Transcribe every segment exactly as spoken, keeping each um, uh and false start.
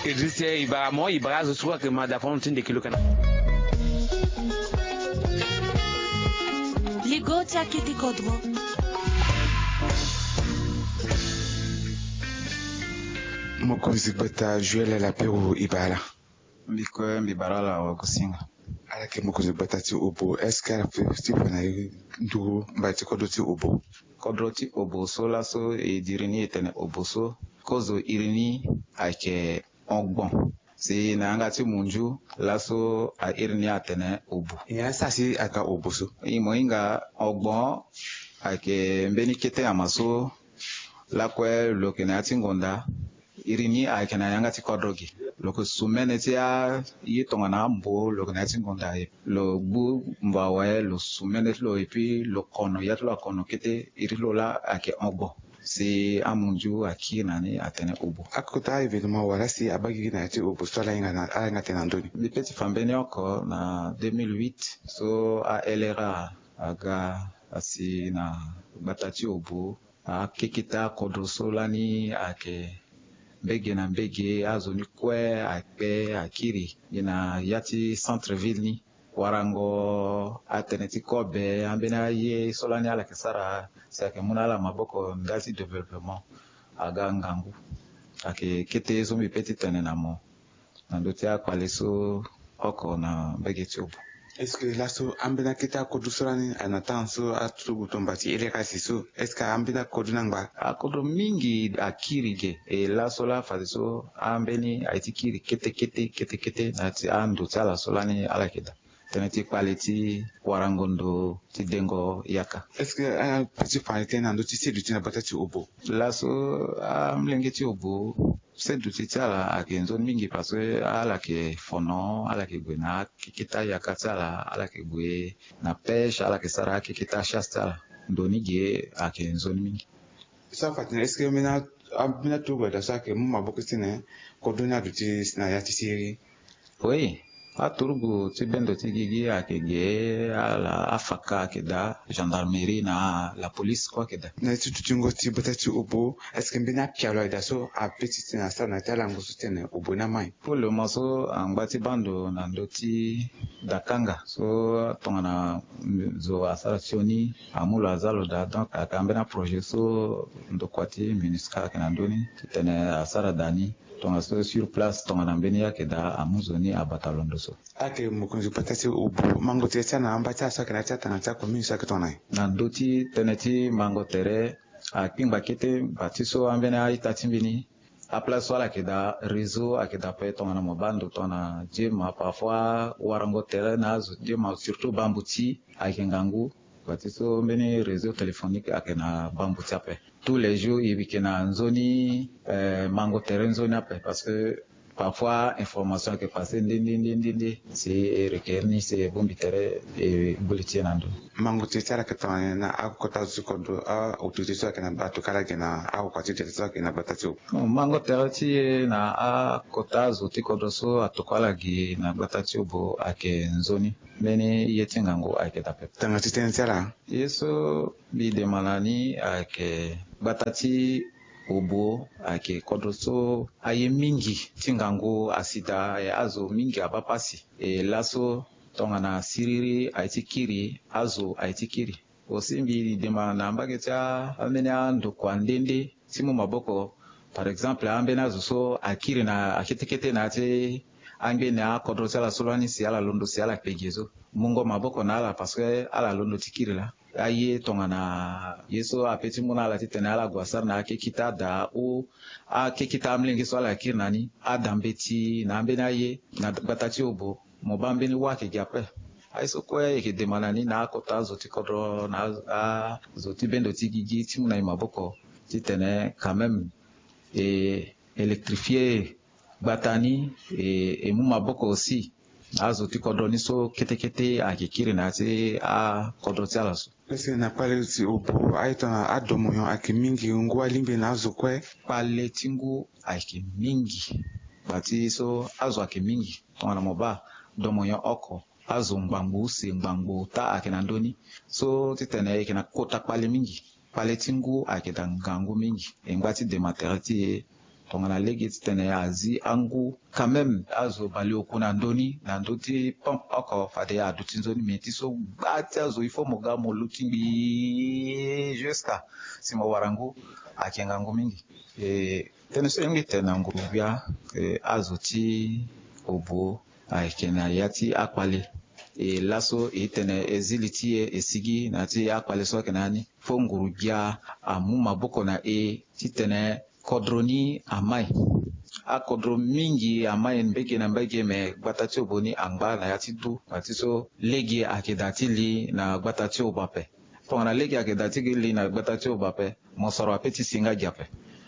Idrisse, e bara mo, e bara azo so ayeke ma da fano ti ndeke lo kana. Ligo ti akete kodro. Mokonzi gbata Joël Lapero, e bara ala. Mbi kue mbi bara ala wagosinga. Ala yeke mokonzi gbata ti Obo, est-ce que ala peut ti fa na e nduru mbage ti kodro ti Obo? Kodro ti Obo so laso e diri ni e tene Obo so, kozo iri ni ayeke ogbon. Si na yanga ti munzu laso a iri ni atene Obo. E, asara si aga Obo so. E, mo hinga ogbon ayeke mbeni kete ama so lakue lo yeke na ya ti ngonda. Iri ni ayeke na yanga ti kodro ge. Lo yeke sumene ti aye tongana ambo, lo yeke na ya ti ngonda. Lo gbu mbo awe, lo sumene ti lo, et puis lo kono ya ti lo akono kete. Iri ti lo laa ayeke ogbon. Si amunzu akiri na ni atene Obo. Akota événement wala si abaa gigi na ya ti Obo so ala hinga na, ala hinga tene na ndö ni? Mbi pe ti fa mbeni oko na deux mille huit so a L R A aga asi na gbata ti Obo. Akeketa akodro so lani ayeke mbege na mbege, azo ni kue akpe akiri gi na ya ti centre ville ni. Warango atënë ti kobe, ambeni aye so lani ala yeke sara si ayeke mu na ala maboko ndali ti développement, aga ngangu. Ayeke kete ye so mbi pe ti tene na mo na ndö ti akpale so oko na mbage ti Obo. Est-ce que laso ambeni akete akodro so lani na temps so aturugu tomba ti L R A si so, est-ce que ambeni akodro ni angba? Akodro mingi akiri ge. E laso laa fadeso ambeni aye ti kiri kete kete kete kete na ya ti ando ti ala so lani ala yeke daa. Tënë ti kpale ti warango ndo ti dengo yaka. Est-ce que ape ti fa tënë na ndö ti seduti na gbata ti Obo? Laso amolenge ti Obo, seduti ti ala ayeke nzoni mingi parce que ala yeke fono, ala yeke gue na akeketa yaka ti ala, ala yeke gue na pêche, ala yeke sara akeketa chasse ti ala. Ndo ni ge ayeke nzoni mingi. So afa tene est-ce que ambeni aturugu daa so ayeke mu maboko ti tene kodro ni aduti na ya ti siriri? Oui, aturugu ti bendo ti gigi ayeke ge, ala afaka ayeke daa, gendarmerie na la police kue ayeke daa. Na ya ti dutingo ti gbata ti Obo, est-ce que mbeni apialo ayeke daa so ape ti tene asara na ya ti alango so ti tene Obo ni amai? Pour le moment so angba ti baa ndo na ndö ti dakanga so tongana zo asara sioni amu lo aza lo daa. Donc ayeke ambeni aprojet so ndokua ti MINUSCA ayeke na ndö ni ti tene asara daa ni. Tongaso sur place tongana mbeni ye ayeke daa amu zo ni abata londo so. Ayeke mokonzi gbata ti Obo, mango tere ti ala na amba ti ala so ayeke na ya ti atanga ti acommune so ayeke tongana nyen? Na ndö ti tënë ti mango tere, akpingba kete, bati so ambeni a-ita ti mbi ni, aplace so ala yeke daa réseau ayeke daa ape tongana mo baa ndo tongana je ma parfois warango tere na azo je ma surtout bambuti ayeke ngangu. Bati so mbeni réseau téléphonique ayeke na bambuti ape. Tous les jours e yeke na nzoni, eh, mango tere nzoni ape parce que parfois information ayeke passe nde nde nde nde nde si e requérir ni si e bongbi tere e gbu li ti e na ndo. Mango tere ti ala ayeke tongana nyen na akota zo ti kodro, a-autorité so ayeke na, atokua ala ge na akokua ti tere so ayeke na gbata ti Obo? Bon, mango tere ti e na akota zo ti kodro so atokua ala ge na gbata ti Obo ayeke nzoni. Mbeni ye ti ngangu ayeke daa pepe. Tanga ti tënë ti ala. Ye so mbi demande na ni ayeke gbata ti Obo ayeke kodro so aye mingi ti ngangu asi daa, e azo mingi abaa pasi. E laso tongana siriri aye ti kiri, azo aye ti kiri. Aussi mbi demande na mbage ti a, ambeni andokua nde nde ti mu maboko. Par exemple, ambeni azo so akiri na akete kete na ya ti angbene akodro ti ala so lani si ala londo si ala kpe gi so. Mungo maboko na ala parce que ala londo ti kiri laa. Aye tongana ye so ape ti mu na ala titene ala gue asara na akekita daa ou akekita amolenge so ala kiri na ni, ada mbeti na ambeni aye na gbata ti Obo. Mo baa mbeni wâ ayeke gi ape. Aye so kue e yeke demande na ni na akota azo ti kodro na azo ti bendo ti gigi ti mu na e maboko titene quand même e électrifier gbata ni, e, e mu maboko aussi na azo ti kodro ni so kete kete ayeke kiri na ya ti akodro ti ala so. Est-ce que na kpale ti Obo aye tongana adomonyon ayeke mingi, ngu alingbi na azo kue? Kpale ti ngu ayeke mingi. Gba ti so azo ayeke mingi. Tongana mo baa domonyon oko, azo ngbangbo use ngbangbo ota ayeke na ndö ni. So titene e yeke na kota kpale mingi. Kpale ti ngu ayeke daa ngangu mingi. E ngba ti dema tere ti e Tongana lege titene azi angu quand même azo baleoku na ndö ni na ndö ti pompe oko fade aduti nzoni. Mais ti so gba ti azo il faut mo ga mo luti ngbii jusqu'à si mo wara ngu. Ayeke ngangu mingi. E, tënë so e mbi tene na nguru gbia, e, azo ti obo ayeke na ya ti akpale. E, laso e tene e zi li ti e e sigi na ya ti akpale so ayeke na ya ni. Fo nguru gbia amu maboko na e titene kodro ni amai. Akodro mingi amai mbege na mbege, me gbata ti obo ni angba na ya ti du. Ngba ti so lege ayeke daa ti li na gbata ti obo ape. Tongana lege ayeke daa ti li na gbata ti obo ape, mosoro ape ti si nga gi ape.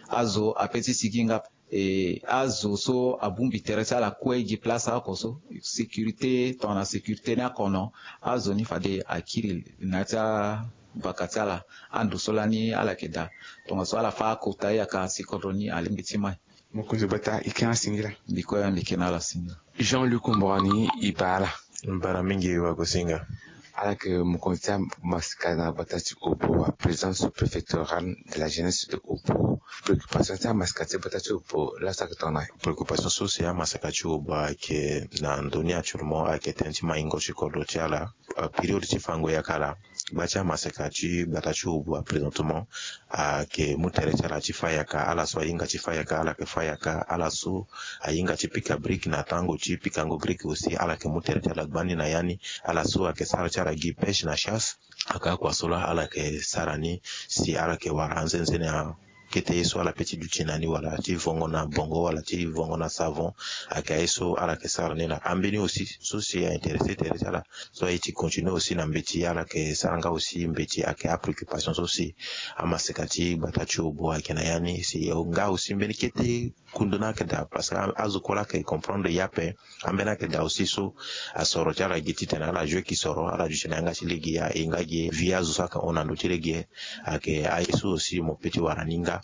Azo ape ti si gi nga ape. E, azo so abongbi tere ti ala kue gi place oko so, sécurité, tongana sécurité ni akono, azo ni fade akiri na ya ti abaka ti ala. Ando so lani ala yeke daa, tongaso ala fâ akota yaka si kodro ni alingbi ti mai. Mokonzi gbata, e ke na ala singila. Mbi kue mbi ke na ala singila. Jean Luc Mborani, e baa ala. Mbara mingi wagosinga. Ala yeke mokonzi ti amaseka na gbata ti Obo, président sous-préfectoral de la jeunesse de Obo. Préoccupation ti amaseka ti gbata ti Obo, laso ayeke tongana? Préoccupation so si amaseka ti Obo ayeke na ndö ni actuellement ayeke tënë ti maingo ti kodro ti ala. Période ti fango yaka laa, gba ti amaseka ti gbata ti Obo présentement ayeke mu tere ti ala ti fâ yaka. Ala so ahinga ti fâ yaka, ala yeke fâ yaka. Ala so ahinga ti pika brique na tango ti pikango brique aussi, ala yeke mu tere ti ala gbani na ya ni. Ala so ayeke sara ti ala gi pêche na chasse, ayeke akua so laa ala yeke sara ni si ala yeke wara anzenze na kete ye so ala pe ti duti na ni, wala ti vongo na bongo, wala ti vongo na savon. Ayeke aye so ala yeke sara ni laa. Ambeni aussi so si a intéressé tere ti ala so aye ti continuer aussi na mbeti, ala yeke sara nga aussi mbeti. Ayeke apréoccupation so si amaseka ti gbata ti Obo ayeke na ya ni. Si nga aussi mbeni kete kundu ni ayeke daa, parce que azo kue laa ayeke comprendre ye ape. Ambeni ayeke daa aussi so asoro ti ala gi titene ala joue ki soro, ala duti na yanga ti lege ya e nga gi vie azo so ayeke hon na ndö ti lege. Ayeke aye so aussi mo pe ti wara ni nga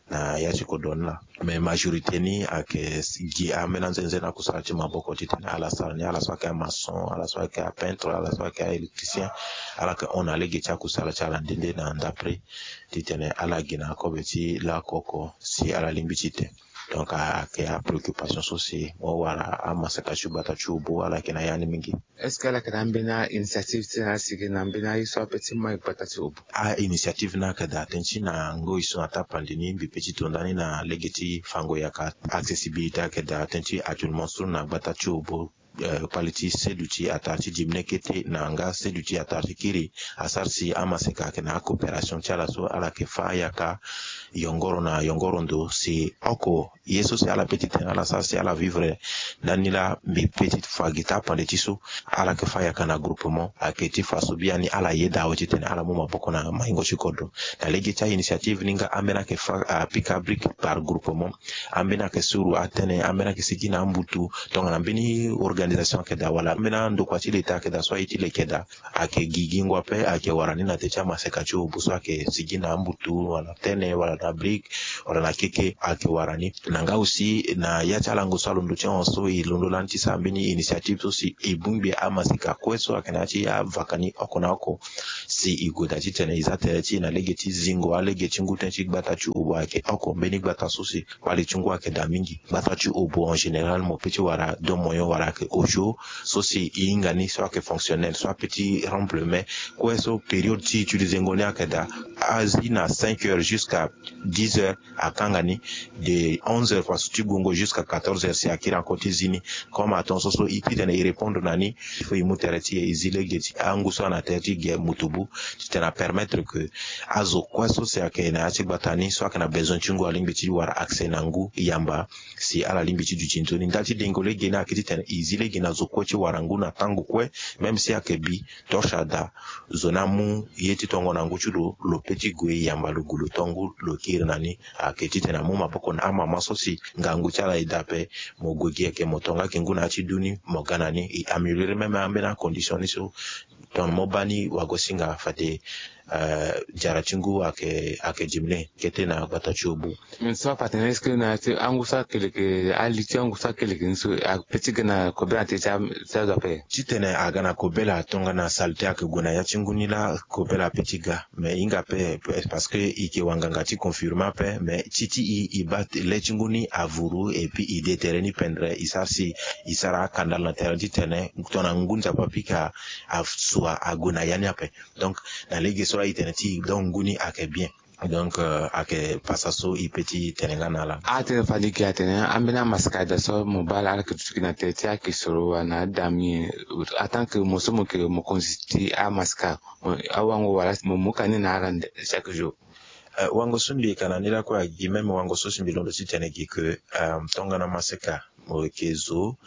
na ya ti kodro ni laa. Mais majorité ni ayeke gi ambeni anzenze na kusala ti maboko titene ala sara ni. Ala so ayeke amaçon, ala so ayeke apeintre, ala so ayeke aélectricien, ala yeke hon na lege ti akusala ti ala nde nde na ndapre titene ala gi na akobe ti lakoko si ala lingbi ti te. Donc ayeke apréoccupation so si mo wara amaseka ti gbata ti Obo ala yeke na ya ni mingi. Est-ce que ala yeke na ambeni ainitiative ti ala sigi na ambeni aye so ape ti mai gbata ti Obo? Ainitiative ni ayeke daa tënë ti na ngoi so na tapande ni mbi pe ti to ndani na lege ti fango yaka. Accessibilité ayeke daa tënë ti actuellement so na gbata ti Obo. Eh, kpali ti seduti atara ti diminuer kete na nga seduti atara ti kiri asara si amaseka ayeke na acoopération ti ala so ala yeke fâ yaka yongoro na yongoro ndo si oko ye so si ala pe ti tene ala sara si ala vivre ndani laa mbi pe ti fa gi tapande ti so ala yeke fâ yaka na groupement. Ayeke ti fa so biani ala yeda awe titene ala mu maboko na maingo ti kodro. Na lege ti ainitiative ni nga ambeni ayeke fâ apika brique par groupement. Ambeni ayeke suru atënë, ambeni ayeke sigi na ambutu. Tongana mbeni organisation ayeke daa wala ambeni andokua ti leta ayeke daa so aye ti leke daa, ayeke gi gingo ape ayeke wara ni na te ti amaseka ti Obo so ayeke sigi na ambutu wala tënë wala na brique wala na keke ayeke wara ni. Na nga aussi na ya ti alango so alondo ti ahon so e londo lani ti sara mbeni initiative so si e bongbi amaseka kue so ayeke na ya ti avaka ni oko na oko. Si e gue daa titene e za tere ti e na lege ti zingo alege ti ngu tënë ti gbata ti Obo ayeke oko mbeni gbata so si kpali ti ngu ayeke daa mingi. Gbata ti Obo en général mo pe ti wara deux moyens wala ayeke osio so si e hinga ni so ayeke fonctionnel so ape ti remplir mais kue so période ti utiliser ngo ni ayeke daa. Azi na cinq heures jusqu'à dix heures akanga ni. De onze heures faso ti gungo jusqu'à quatorze heures si akiri encore ti zi ni. Comme atongaso so e titene e répondre na ni, il faut e mu tere ti e e zi lege ti angu so ana tere ti ge mutubu titene apermettre que azo kue so si ayeke na ya ti gbata ni so ayeke na besoin ti ngu alingbi ti wara accès na ngu yamba si ala lingbi ti duti nzoni. Ndali ti dengo lege ni ayeke titene e zi lege na zo kue ti wara ngu na tango kue. Même si ayeke bi torche ada, zo ni amu ye ti tongo na ngu ti lo, lo pe ti gue yamba lo gue lo to ngu lo kiri na ni. Ayeke titene amu maboko na amama so si ngangu ti ala e daa ape. Mo gue gi ayeke mo to nga ayeke ngu na ya ti du ni mo ga na ni. E améliorer même ambeni acondition ni so tongana mo baa ni wagosinga fade eh, diara ti ngu ayeke, ayeke dimle kete na gbata ti obu. Mais so afa atene est-ce que na ti angu so akele yeke, ali ti angu so akele yeke ni so ape ti ga na kobela na tene ti a, ti azo ape? Titene aga na kobela tongana saleté ayeke gue na ya ti ngu ni laa, kobela ape ti ga. Mais hinga ape, parce que e yeke wanganga ti confirmer ape, mais ti ti e, e baa le ti ngu ni avuru, et puis e de tere ni pendere, e sara si, e sara akandala na tere titene tongana ngu nzapa apika, asua ague na ya ni ape. Donc na lege so laa e tene ti e, donc ngu ni ayeke bien. Donc, euh, ayeke pasa so e pe ti tene nga na ala. Atene fade gi atene ambeni amaseka daa so mo baa ala ayeke duti gi na tere ti akisoro wala na adami, en tant que mo so mo yeke mokonzi ti amaseka, mo, awango wala mo mu ka ni na ala nde chaque jour? Euh, wango so mbi yeke na ni lakue agi même wango so si mbi londo titene gi ke, euh, tongana maseka mo yeke zo,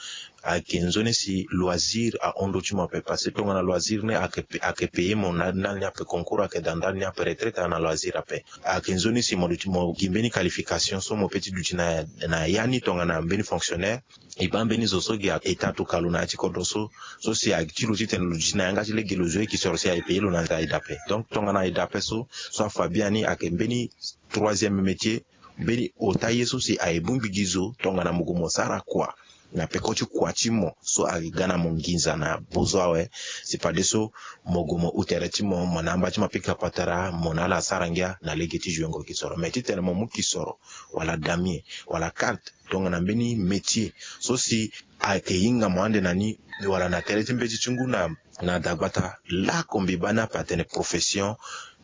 ayeke nzoni si loisir ahon ndö ti mo ape, parce que tongana loisir ni ayeke, ayeke payer mo na ndali ni ape, concours ayeke daa ndali ni ape, retraite aza na loisir ape. Ayeke nzoni si mo duti, mo gi mbeni qualification so mo pe ti duti na, na ya ni tongana mbeni fonctionnaire. E baa mbeni zo so gi a, e taa tuka lo na ya ti kodro so, so si a ti lo titene lo duti na yanga ti lege lo zo ye kisoro si aye payer lo na nze aye daa ape. Donc tongana aye daa ape so, so afa biani ayeke mbeni troisième métier, mbeni ota ye so si aye bongbi gi zo tongana mo gue mo sara kua na peko ti kua ti mo so aye ga na mo nginza na bozo awe. Si fadeso mo gue mo hu tere ti mo, mo na amba ti mo apika patara, mo na ala asara ngia na lege ti jouengo kisoro. Mais titene mo mu kisoro wala damier wala karte tongana mbeni métier so si ayeke hinga mo ande na ni wala na tere ti mbeti ti ngu na, na dagbata, laoko mbi baa ni ape atene profession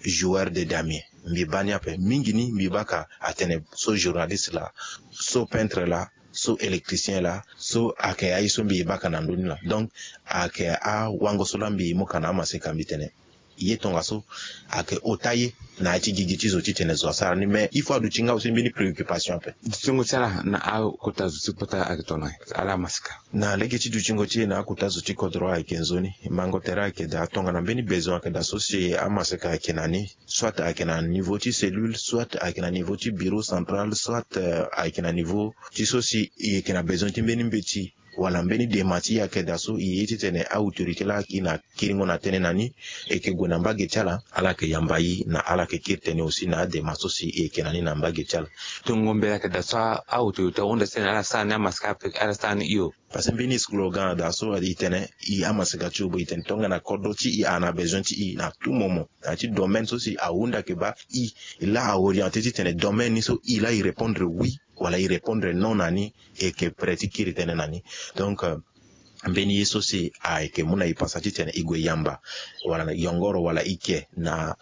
joueur de damier. Mbi baa ni ape mingi ni, mbi baa ka atene so journaliste laa, so peintre laa, so électricien laa, so ayeke aye so mbi baa ka na ndö ni laa. Donc ayeke awango so laa mbi mu ka na amaseka mbi tene ye tongaso ayeke ota ye na ya ti gigi ti zo titene zo asara ni. Mais il faut aduti nga aussi mbeni préoccupation ape. Dutingo ti ala na akota zo ti kota ayeke tongana ala amaseka? Na lege ti dutingo ti e na akota zo ti kodro ayeke nzoni. Mango tere ayeke daa tongana mbeni besoin ayeke daa so si amaseka ayeke na ni, soit ayeke na niveau ti cellule, soit ayeke na niveau ti bureau central, soit, euh, ayeke na niveau ti so si e yeke na besoin ti mbeni mbeti wala mbeni dema ti e ayeke daa so e ye titene autorité laa e na kiringo na tënë na ni, e yeke gue na mbage ti ala, ala yeke yamba e na ala yeke kiri tënë aussi na adema so si e yeke na ni na mbage ti ala. Tongo mbela ayeke daa so a, autorité ahunda titene ala sara ni amaseka ape, ala sara ni hio. Parce que mbeni slogan daa so e tene e amaseka ti obo e tene tongana kodro ti e a na besoin ti e na tout moment na ya ti domaine so si ahunda yeke baa e, e laa a orienté titene domaine ni so e laa e répondre oui wala e répondre non na ni, e yeke prêt ti kiri tënë na ni. Donc, euh, mbeni ye so si ayeke mu na e pasa titene e gue yamba wala na yongoro wala e ke na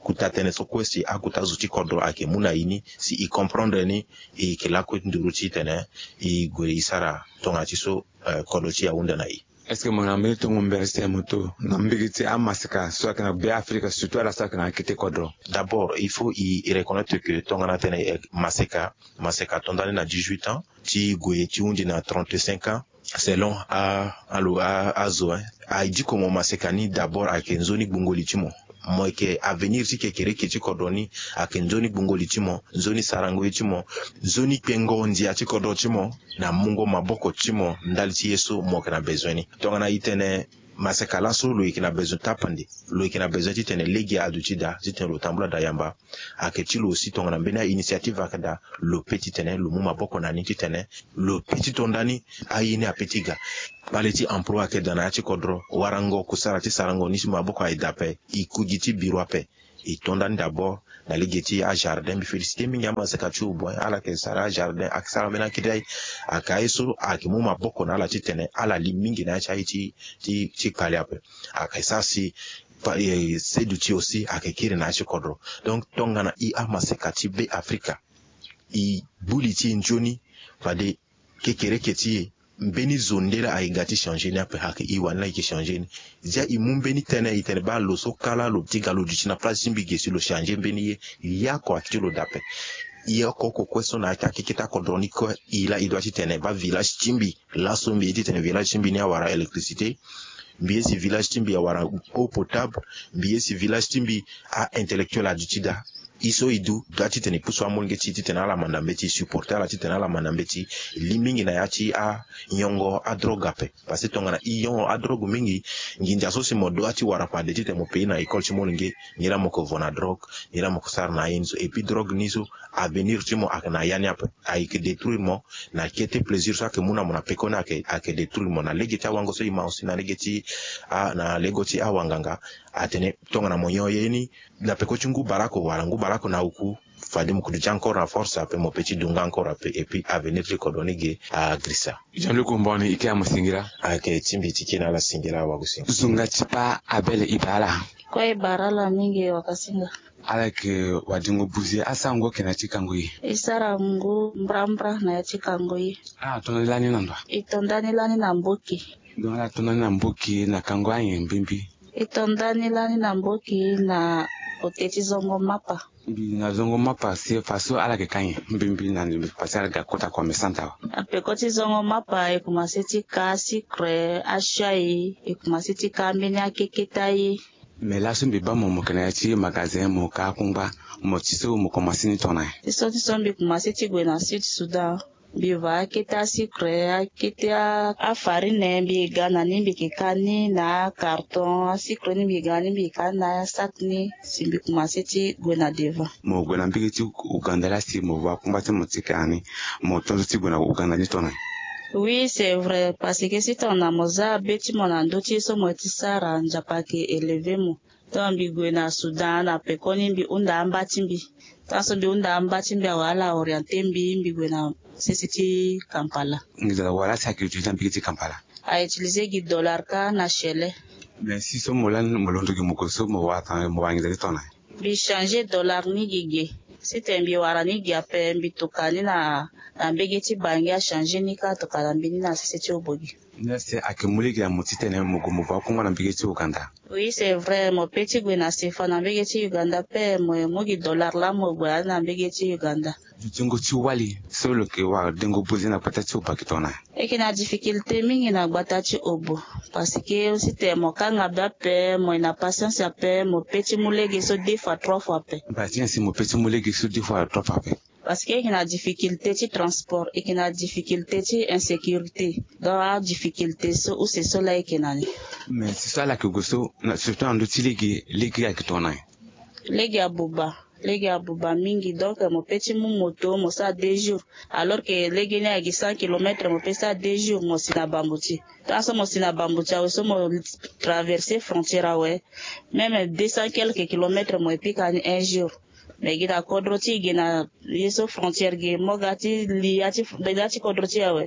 kuta tënë so kue si akuta zo ti kodro ayeke mu na e ni, si e comprendre ni, e yeke lakue nduru titene e gue e sara tongana ti so, euh, kodro ti e ahunda na e. Est-ce que mo na mbeni tongo mbela titene mo to na mbage ti amaseka so ayeke na Be Afrika, surtout ala so ayeke na akete kodro? D'abord il faut e, e reconnaître que tongana tene, eh, maseka, maseka ato ndani na dix-huit ans ti gue ti hunzi na trente-cinq ans, selon a, alo, a, azo, hein. Aye diko mo maseka ni d'abord ayeke nzoni gbungo li ti mo. Mo yeke avenir ti kekereke ti kodro ni, ayeke nzoni gbungo li ti mo, nzoni sarango ye ti mo, nzoni kpengo ndia ti kodro ti mo na mungo maboko ti mo ndali ti ye so mo yeke na bezoin ni. Tongana e tene maseka laso lo yeke na bezoin tapande, lo yeke na bezoin titene lege aduti daa titene lo tambula daa yamba. Ayeke ti lo aussi tongana mbeni a-initiative ayeke daa, lo pe titene lo mu maboko na ni titene lo pe ti to ndani aye ni ape ti ga. Kpale ti emploi ayeke daa na ya ti kodro, warango kusara ti sarango ni ti maboko aye daa ape, e ku gi ti biro ape. E to ndani d'abord na lege ti ajardin. Mbi félicité mingi amaseka ti obo, ala yeke sara ajardin, ayeke sara ambeni akiri aye. Ayeke aye so ayeke mu maboko na ala titene ala li mingi na ya ti aye ti, ti, ti kpale ape. Ayeke sara si pa, eh, seduti aussi ayeke kiri na ya ti kodro. Donc tongana e amaseka ti Be Afrika, e bu li ti e nzoni, fade kekereke ti e, mbeni zo nde laa aye ga ti changer ni ape, ayeke e wani laa e yeke changer ni. Zia e mu mbeni tënë e tene baa lo so kâ laa lo ti ga lo duti na place ti mbi ge si lo changer mbeni ye, e oko ayeke ti lo daa ape. E oko oko kue so na ya ti akeke ti akodro ni kue, e laa e doit titene baa village ti mbi laso mbi ye titene village ti mbi ni awara électricité, mbi ye si village ti mbi awara eau potable, mbi ye si village ti mbi a-intellectuel aduti daa. Ye so e du, dua titene e pusu amolenge ti e titene ala manda mbeti, e supporter ala titene ala manda mbeti. E li mingi na ya ti anyongo adrogue ape. Parce que tongana e yongo adrogue mingi, nginza so si mo dua ti wara fade titene mo payer na école ti molenge, nilaa mo ke vo na drogue, nilaa mo ke sara na aye ni so. Et puis drogue ni so, avenir ti mo ayeke na ya ni ape. Ayeke détruire mo na kete plaisir so ayeke mu na mo na peko ni, ayeke, ayeke détruire mo na lege ti awango so e ma aussi na lege ti, ah, na lego ti awanganga. Atene tongana mo nyon ye ni na peko ti ngu baleoko wala ngu baleoko na oku, fade mo kudu ti encore na force ape, mo pe ti du nga encore ape, et puis avenir ti kodro ni ge agirisa. Jean-Luc Mbon, e ke amu singila. Ayeke ti mbi ti ke na ala singila, awagu singila. Zo nga ti pa Abel, e bara ala? Kue e bara ala mingi, wakasinga. Ala yeke wadengo buze, asarango ayeke na ya ti kango ye? E sara ngu mbrambra na ya ti kango ye. Ala to ndani lani na ndo wa? E to ndani lani na mboki. Donc ala to ndani na mboki na kango anyen mbimbi? E to ndani lani na mboki na kote ti zongo mapa. Mbi na zongo mapa, si faso ala yeke ka nyen mbimbi na ni, parce que ala ga kota commerçante awe. Na peko ti zongo mapa e komanse ti ka sucre, achai, e komanse ti ka ambeni akeketa ye. Mais laso mbi baa mo, mo yeke na ya ti magasin, mo ka akungba, mo ti so mo komanse ni tongana nyen? Ti so, ti so mbi komanse ti gue na Sud Soudan. Mbi va akete asucre, akete a, afarine, mbi ga na ni, mbi yeke ka ni na acarton. Asucre ni mbi ga na ni, mbi yeke ka ni na asak ni, si mbi komanse ti gue na devant. Mo gue na mbege ti Ouganda laa, si mo va akungba ti mo ti yeke na ni, mo tonzo ti gue na Ouganda ni tongana nyen? Oui, c'est vrai, parce que si tongana mo za be ti mo na ndö ti ye so mo ye ti sara, Nzapa ayeke élever mo. Donc mbi gue na Soudan, na pekoni mbi hunda amba ti mbi. Tant so mbi hunda amba ti mbi awe, ala orienter mbi, mbi gue na sese ti Kampala. Nginza wala si ayeke utiliser na mbege ti Kampala? A utiliser gi dollar kâ na shele. Mais si so mo lani, mo londo gi mo gue so, mo wara tongana nyen, mo wara nginza ti tongana nyen? Mbi changer dollar ni gi ge. Si tene mbi wara ni gi ape, mbi tokua ni na, na mbege ti Bangui, achanger ni kâ atokua na mbi ni na sese ti Obogi. Ni laa si ayeke mu lege na mo titene mo gue mo va akungba na mbege ti Ouganda? Oui, c'est vrai, mo pe ti gue na sefa na mbege ti Uganda ape, mo ye mu gi dollar laa mo gue na mbege ti Uganda. Dutingo ti wali so lo yeke wara dengo buze na gbata ti Obo ayeke tongana nyen? E yeke na difficulté mingi na gbata ti Obo, parce que si tene mo kanga be ape, mo ye na patience ape, mo pe ti mu lege so deux fois, trois fois ape. Mbati nyen si mo pe ti mu lege so deux fois, trois fois ape? Parce que e yeke na difficulté ti transport, e yeke na difficulté ti insécurité. Donc adifficulté so use so laa e yeke na ni. Mais si so ala yeke gue so, na, surtout na ndö ti lege, lege ayeke tongana nyen? Lege abuba, lege abuba mingi. Donc mo pe ti mu moto, mo sara deux jours. Alors que lege ni ayeke cent kilomètres, mo pe sara deux jours, mo si na bambuti. Tant so mo si na bambuti awe so mo traverser frontière awe, même deux cents quelques kilomètres mo ye pika ni un jour. Mais gi na kodro ti e, gi na ye so frontière gi, mo ga ti li ya ti, ya ti kodro ti e awe,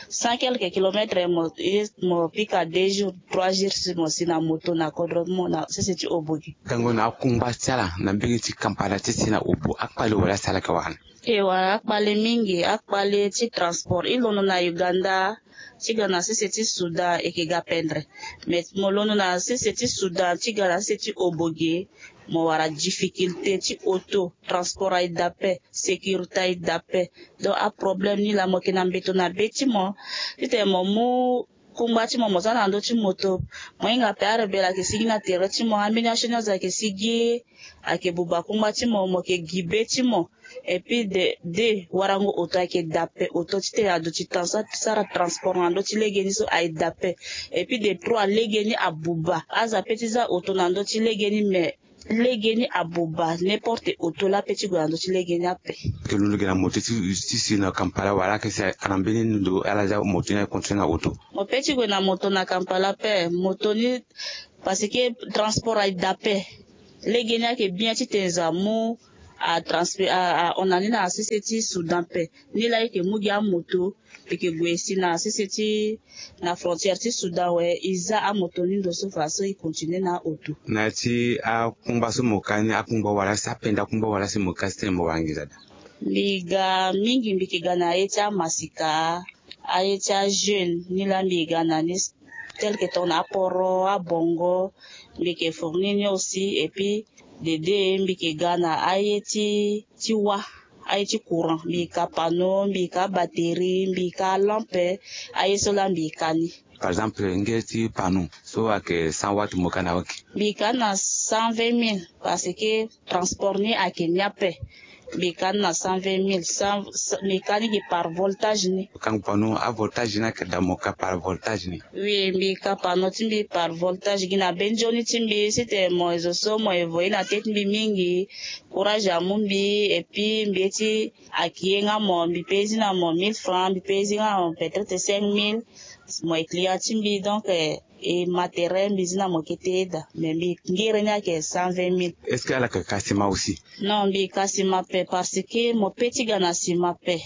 cent quelques kilomètres, mo, ye, mo pika deux jours, trois jours si mo si na moto na kodro ti mo na sese ti Obo gi. Gango na akungba ti ala na mbege ti Kampala ti si na Obo, akpale wala si ala yeke wara ni? E wara akpale mingi, akpale ti transport. E londo na Uganda ti ga na sese ti Soudan, e yeke ga pendre. Mais mo londo na sese ti Soudan ti ga na sese ti Obo gi, mo wara difficulté ti auto, transport aye daa ape, sécurité aye daa ape. Donc aproblème ni laa mo yeke na mbeto na be ti mo. Titene mo mu kungba ti mo, mo za na ndö ti moto, mo hinga ape, arebelle ayeke sigi na tere ti mo, ambeni asioni azo ayeke sigi, ayeke buba kungba ti mo, mo yeke gi be ti mo. Et puis de, de warango auto ayeke daa ape, auto titene aduti temps so asara transport na ndö ti lege ni so aye daa ape. Et puis de trois, lege ni abuba. Aza pe ti za auto na ndö ti lege ni, mais lege ni abuba, n'importe auto laa pe ti gue na ndö ti lege ni ape. Ayeke londo gi na moto ti, ti si na Kampala wala ayeke si na mbeni ndo ala za moto ni aye continue na auto? Mo pe ti gue na moto na Kampala ape, moto ni, parce que transport aye daa ape. Lege ni ayeke bien titene za mu a transpe-, a, a hon na ni na sese ti Soudan ape. Ni laa e yeke mu gi amoto, e yeke gue si na sese ti, na frontière ti Soudan awe, e za amoto ni ndo so fa so e continue na auto. Na ya ti akungba so mo ka ni, akungba wala si apenda akungba wala si mo ka si tene mo wara nginza daa? Mbi ga mingi, mbi yeke ga na aye ti amasika, aye ti ajeune, ni laa mbi ga na ni, tel que tongana aporo, abongo, mbi yeke fournir ni aussi, et puis dede mbi yeke ga na aye ti, ti wâ, aye ti courant, mbi ka panneau, mbi ka batterie, mbi ka lampe. Aye so laa mbi ka ni. Par exemple, nge ti panneau so ayeke cent watts, mo ka na oke? Mbi ka ni na cent vingt mille, parce que transport ni ayeke ni ape. Mbi ka ni na cent vingt mille, cent, mbi ka ni gi par voltage ni. Kangu panneau, avoltage ni ayeke daa, mo ka par voltage ni? Oui, mbi ka panneau ti mbi par voltage gi na be nzoni ti mbi, si tene mo zo so mo evoye na tete mbi mingi, courage amu mbi. Et puis mbi ye ti akiye nga mo, mbi pe zi na mo mille francs, mbi pe zi nga mo peut-être cinq mille. Mo ye client ti mbi, donc, eh, e matériel mbi zi na mo kete daa, mais mbi ngere ni ayeke cent vingt mille. Est-ce que ala yeke ka sima aussi? Non, mbi ka sima pe, parce que mo pe ti ga na sima pe.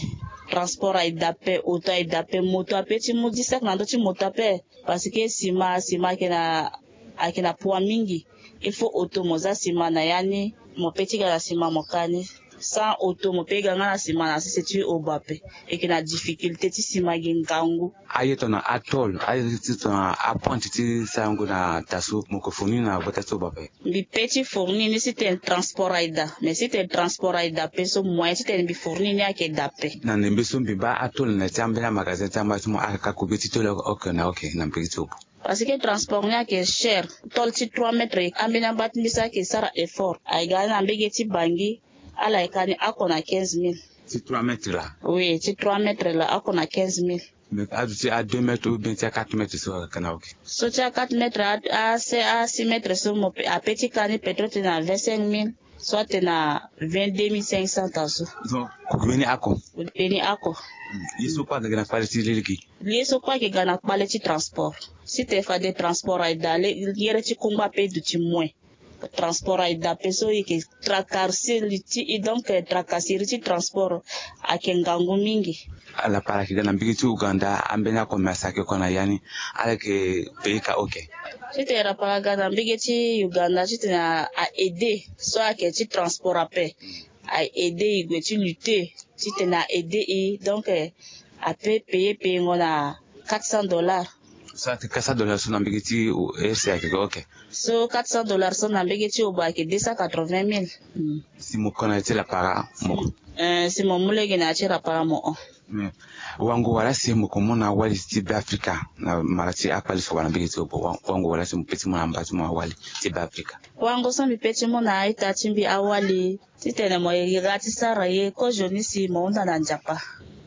Transport aye daa pe, auto aye daa pe, moto ape ti mu dix sacs na ndö ti moto ape, parce que sima, sima ayeke na, ayeke na poids mingi. Il faut auto mo za sima na ya ni, mo pe ti ga na sima mo ka ni. Sans auto mo pe ga nga na sima na sese ti obo ape. E yeke na difficulté ti sima gi ngangu. Aye tongana atôle, aye ti tongana apointe ti sarango na taa so, mo yeke fournir na gbata ti obo ape? Mbi pe ti fournir ni si tene transport aye daa, mais si tene transport aye daa pe so, moyen ti tene mbi fournir ni ayeke daa pe. Na ndembe so mbi baa atôle na ya ti ambeni amagasin ti amba ti mo, ala ka combien ti tôle oke na oke na mbege ti obo? Parce que transport ni ayeke cher. Tôle ti trois mètres, ambeni amba ti mbi so ayeke sara effort, aye ga na mbege ti Bangui, ala yeke ka ni oko na quinze mille. Ti trois mètres laa? Oui, ti trois mètres laa, oko na quinze mille. Mais aduti a deux mètres ou bien ti a quatre mètres so ayeke na oke? So ti a quatre mètres, a, a six mètres so mo pe, ape ti ka ni peut-être na vingt-cinq mille, soit na vingt-deux mille cinq cents taa so. Donc, kogbe ni oko? Kogbe ni oko. Hmm. Ye so kue ayeke ga na kpale ti lege? Ye so kue ayeke ga na kpale ti transport. Si tene fade transport aye daa, le, yere ti kungba ape duti moins. Transport aye daa pe so, e yeke tracasserie ti e, donc, eh, tracasserie ti transport ayeke ngangu mingi. Ala para ayeke ga na mbege ti Ouganda, ambeni akomesa ayeke oko na ya ni, ala yeke payer ka oke? Si tene rapara aga na mbege ti Ouganda, si tene a, a aider so ayeke ti transport ape, a aider e gue ti lutter ti tene a aider e, donc, eh, ape payer payengo na quatre cents dollars. So atene quatre cents dollars so na mbege ti, eh, ese ayeke ga oke? So quatre cents dollars so na mbege ti obo ayeke deux cent quatre-vingt mille. Hmm. Si mo ko na ya ti rapara, mo ko? Eh, si mo mu lege na ya ti rapara mo hon. Hmm. Wango wala si mo ko mu na awali ti Beafrika na mara ti akpale so wala mbege ti obo, wa-, wango wala si mo pe ti mu na amba ti mo awali ti Beafrika? Wango so mbi pe ti mu na a-ita ti mbi awali, titene mo ye ga ti sara ye kozoni si mo hunda na Nzapa.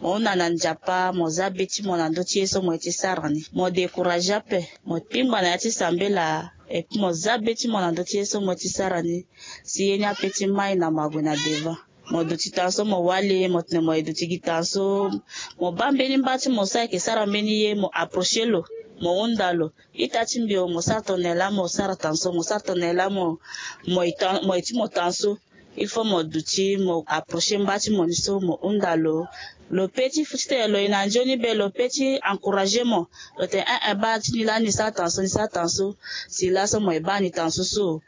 Mo hunda na Nzapa, mo za be ti mo na ndö ti ye so mo ye ti sara ni. Mo décourager ape, mo kpingba na ya ti sambela, et puis mo za be ti mo na ndö ti ye so mo ye ti sara ni, si ye ni ape ti mai na mo ague na devant. Mo duti taa so mo wali, mo tene mo ye duti gi taa so, mo baa mbeni mba ti mo so ayeke sara mbeni ye, mo approcher lo, mo hunda lo. Ita ti mbi o, mo sara tongana nyen laa mo sara taa so, mo sara tongana nyen laa mo, mo ye taa, mo ye ti mo taa so. Il faut mo duti, mo approcher mba ti mo ni so, mo hunda lo. Lo pe ti fu ti tene lo ye na nzoni be, lo pe ti encourager mo. Lo tene, eh, eh, baa ti ni laa ni sara taa so, ni sara taa so. Si laso mo ye baa ni taa so so.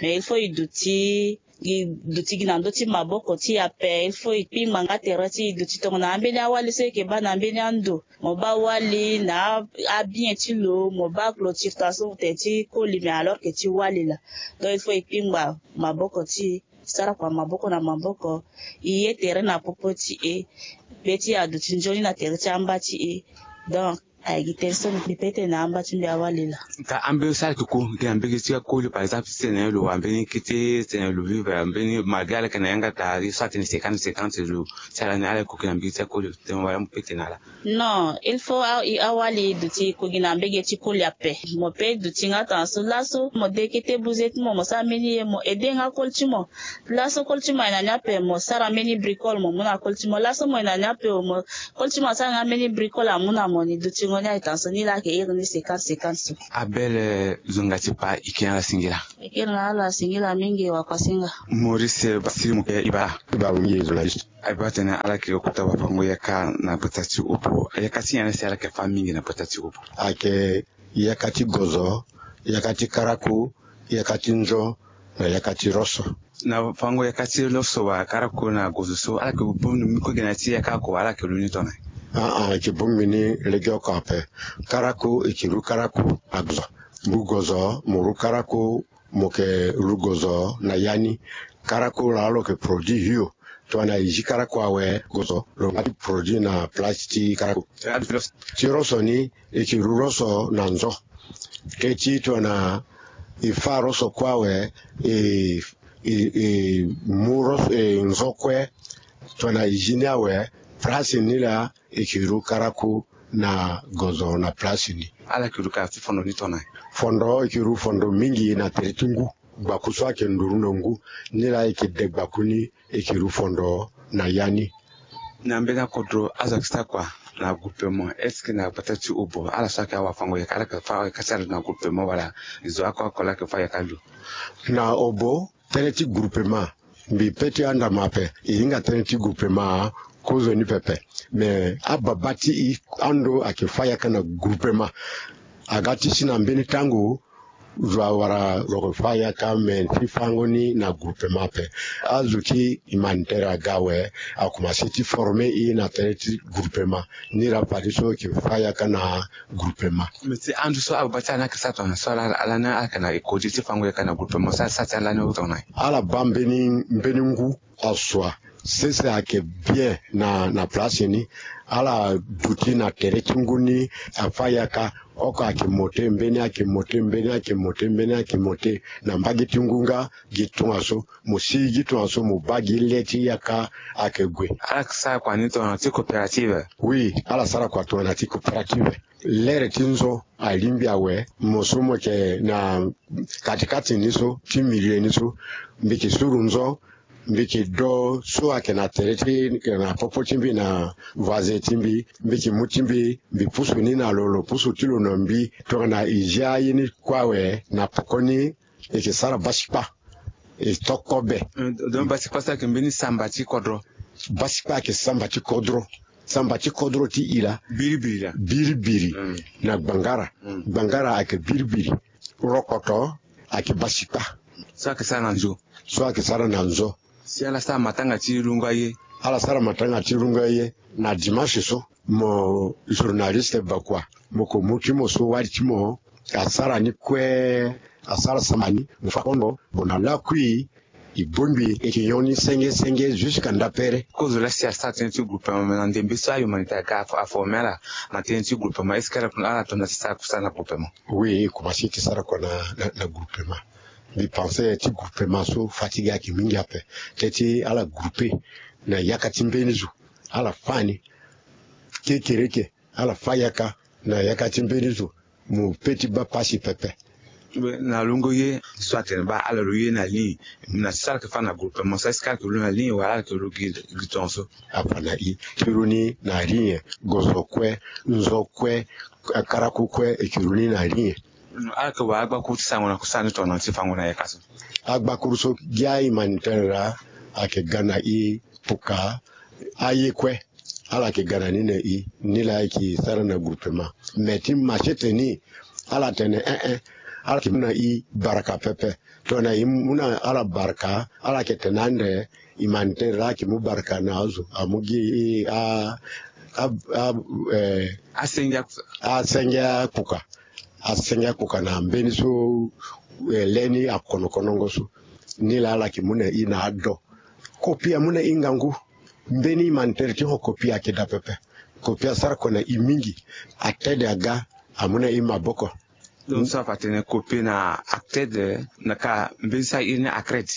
Mais il faut e duti, e duti gi na ndö ti maboko ti e ape. Il faut e kpingba nga tere ti e duti tongana ambeni awali so e yeke baa na mbeni ando. Mo baa wali na a-, abien ti lo, mo baa clôture taa so tene ti koli, mais alors que ti wali laa. Donc il faut e kpingba maboko ti e, sara kua maboko na maboko, e ye tere na popo ti e, be ti e aduti nzoni na tere ti amba ti e. Donc ayeke gi tënë so mbi pe tene na amba ti mbi awali laa. Ka ambeni so ala yeke ko gi na mbege ti akoli, par exemple, si tene lo wara mbeni kete, si tene lo vivre mbeni malgré ala yeke na yanga daa, ye so atene cinquante cinquante lo sara ni, ala yeke ko gi na mbege ti akoli, tene wala mo pe tene na ala? Non, il faut a-, e awali e duti e ko gi na mbege ti koli ape. Mo pe duti nga taa so laso, mo de kete buze ti mo, mo sara mbeni ye, mo aider nga koli ti mo. Laso koli ti mo aye na ni ape, mo sara mbeni bricole, mo mu na koli ti mo. Laso mo ye na ni ape o, mo, koli ti mo asara nga mbeni bricole, amu na mo ni. Dutingo ni aye taa so, ni laa ayeke iri ni cinquante cinquante so. Abel, eh, zonga ti pa, e kiri na ala singila. E kiri na ala singila mingi, wakuasinga. Maurice Basiri, mo ke e bara. E bara mingi journaliste. Aye baa tene ala yeke kota wafango yaka na gbata ti obo. Yaka ti nyen si ala yeke fâ mingi na gbata ti obo? Ayeke yaka ti gozo, yaka ti karaku, yaka ti nzo, na yaka ti roso. Na fango yaka ti roso wala karaku na gozo so, ala yeke bongbi ni kue gi na ya ti yaka oko, ala yeke lu ni tongana nyen? Ah, ah, e yeke bongbi ni legeoko ape. Karaku, e yeke lu karaku na gozo. Mu gozo, mo lu karaku, mo yeke lu gozo na ya ni. Karaku laa lo yeke produit hio. tongana e zi karaku awe, gozo lo nga ti produit na place ti karaku. Ti roso ni, e ke ru roso na nzo. Keti tongana e fa roso kue awe, e, e, e mu roso, e, nzo kue. Tongana e zi ni awe, place ni laa e ke ru karaku na gozo na place ni. Ala ke ru ka ti fondo ni tongana? Fondo, e ke ru fondo mingi na tere ti ngu. Gbaku so ayeke nduru na ngu, ni laa e ke de gbaku ni, e ke ru fondo na ya ni. Na mbeni akodro azo ayeke sara kua na groupement? Est-ce que na gbata ti Obo ala so ayeke awafango-yaka, ala yeke fa yaka ti ala na groupement wala? Zo oko oko laa ayeke fa yaka lo? Na Obo, tënë ti groupement, mbi pe ti andama ape, e hinga tënë ti groupement kozoni pepe. Me ababa ti e ando ayeke fa yaka na groupement. Aga ti si na mbeni tango zo awara lo yeke fa yaka, me ti fango ni na groupement ape. Azo ti humanitaire aga awe, akomanse ti former e na tënë ti groupement. Ni laa fadeso e ke fa yaka na groupement. Me ti ando so ababa ti ala ni ayeke sara tongana so, ala, ala ni ayeke na e kodi ti fango yaka na groupement so, ala sara ti ala ni tongana? Ala baa mbeni, mbeni ngu asua. Sese ayeke bien na, na place ni. Ala duti na tere ti ngu ni, afa yaka. Oko ayeke mote, mbeni ayeke mote, mbeni ayeke mote, mbeni ayeke mote. Na mbage ti ngu nga gi tongaso, mo si gi tongaso, mo baa gi le ti yaka ayeke gue. Ala yeke sara kua ni tongana ti coopérative? Oui, ala sara kua tongana ti coopérative. Lere ti nzo alingbi awe, mo so mo yeke na kati kati ni so, ti milieu ni so, mbi yeke suru nzo, mbi yeke do so ayeke na tere ti, na popo ti mbi, na voisin ti mbi, mbi yeke mu ti mbi, mbi pusu ni na lo, lo pusu ti lo na mbi. Tongana e zia ye ni kue awe, na poko ni e yeke sara basikpa. E to kobe. Eh, donc basikpa so ayeke mbeni samba ti kodro? Basikpa ayeke samba ti kodro. Samba ti kodro ti e laa. Biribiri laa. Biribiri. Mm. Na gbangara. Mm. Gbangara ayeke biribiri. Rokoto ayeke basikpa. So ayeke sara na nzo. So ayeke sara na nzo. Si ala sara matanga ti lungo aye. Ala sara matanga ti lungo aye na dimanche so. Mo journaliste bakua, mo ko mu ti mo so wali ti mo asara ni kue, asara samba ni, mo fa kondo, mo na lakui, e bongbi, e yeke nyon ni senge senge jusqu'à ndapere. Kozo laa si asara tënë ti groupement, me na ndembe so ahumanitaire aga aforme ala na tënë ti groupement, est-ce que ala, ala tongana ti sara kusala na groupement? Oui, e komanse ti sara kua na, na, na groupement. Mbi pense ti groupement so fatigue ayeke mingi ape. Teti ala groupe na yaka ti mbeni zo. Ala fa ni kekereke, ala fa yaka na yaka ti mbeni zo. Mo pe ti baa pasi pepe. Na lungo ye so atene baa ala lo ye na ligne. Na so ala yeke fa na groupement so, est-ce que ala yeke lo na ligne wala ala yeke lo gi, gi tongaso? Apa na i ti lo ni na ligne, gozo kue, nzo kue, karaku kue, e yeke lo ni na ligne. Ala yeke wara agbakuru ti sango na kusala ni tongana ti fango na yaka so? Agbakuru so gi ahumanitaire laa ayeke ga na i puka aye kue. Ala yeke ga na ni na i, ni laa e yeke sara na groupement. Me ti machete ni, ala tene eh eh, ala yeke mu na i baraka pepe. Tongana i mu na ala baraka, ala yeke tene ande humanitaire laa ayeke mu baraka na azo, amu gi a, a, a, eh, asenge a, asenge akpuka. Asenge akpuka na mbeni so, eh, le ni akono konongo so. Ni laa ala yeke mu na i na ado. Kopi amu na i ngangu. Mbeni humanitaire ti ho kopi ayeke daa pepe. Kopi asara kua na i mingi. Acted aga amu na i maboko. Donc so afa atene kopi na acted, na ka mbeni so a iri ni acred.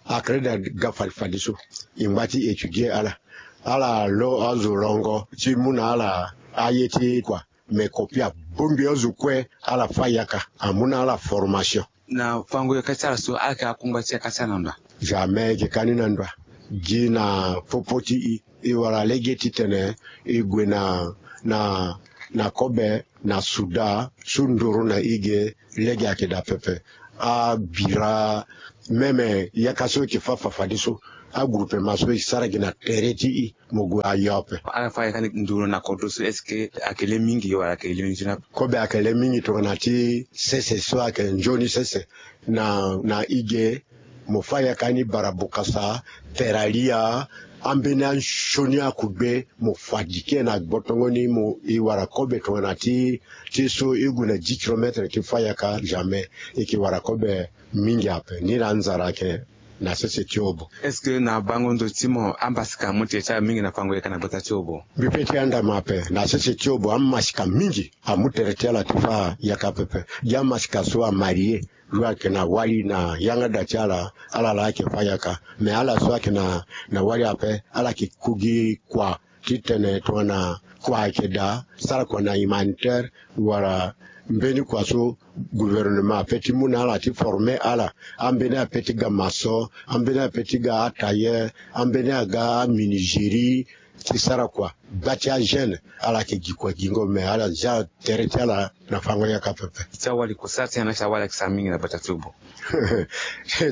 Acred aga fade fadeso. E ngba ti étudier ala. Ala lo azo longo ti mu na ala aye ti kua. Me kopi abongbi azo kue, ala fa yaka, amu na ala formation. Na fango yaka ti ala so, ala yeke akungba ti yaka ti ala na ndo wa? Jamais e yeke ka ni na ndo wa. Gi na popo ti e, e wara lege titene e gue na, na, na kobe na Soudan so nduru na e ge, lege ayeke daa pepe. Abira, même yaka so e yeke fa fafadeso, agroupement so e sara gi na tere ti e. Mo gue ayo ape. Ala fa yaka ni nduru na kodro so, est-ce que ayeke le mingi wala ayeke le mingi ti na? Kobe ayeke le mingi tongana ti sese so ayeke nzoni sese. Na, na e ge, mo fa yaka ni Barabokasa, Teralia, ambeni anzoni akugbe, mo fa dike na gbotongo ni, mo e wara kobe tongana ti, ti so e gue na dix kilomètres ti fa yaka, jamais. E yeke wara kobe mingi ape. Ni laa nzara ayeke na sese ti obo. Est-ce que na bango ndo ti mo ambasika amu tere ti ala mingi na fango yaka na gbata ti obo? Mbi pe ti andama ape na sese ti obo ambasika mingi amu tere ti ala ti fa yaka pepe. Gi ambasika so amarie, lo ayeke na wali na yanga da ti ala, ala la ayeke fa yaka. Me ala so ayeke na na wali ape, ala yeke ku gi kua ti tene tongana kua ayeke daa, sara kua na humanitaire wala mbeni kua so gouvernement ape ti mu na ala ti forme ala. Ambeni ape ti ga maçon, ambeni ape ti ga atailleur, ambeni aga aminigerie ti sara kua. Gba ti ajeune ala yeke gi kua gingo, me ala zia tere ti ala na fango yaka pepe. Ti awali kua sara ti nyen na ti awali ayeke sara mingi na gbata ti obo?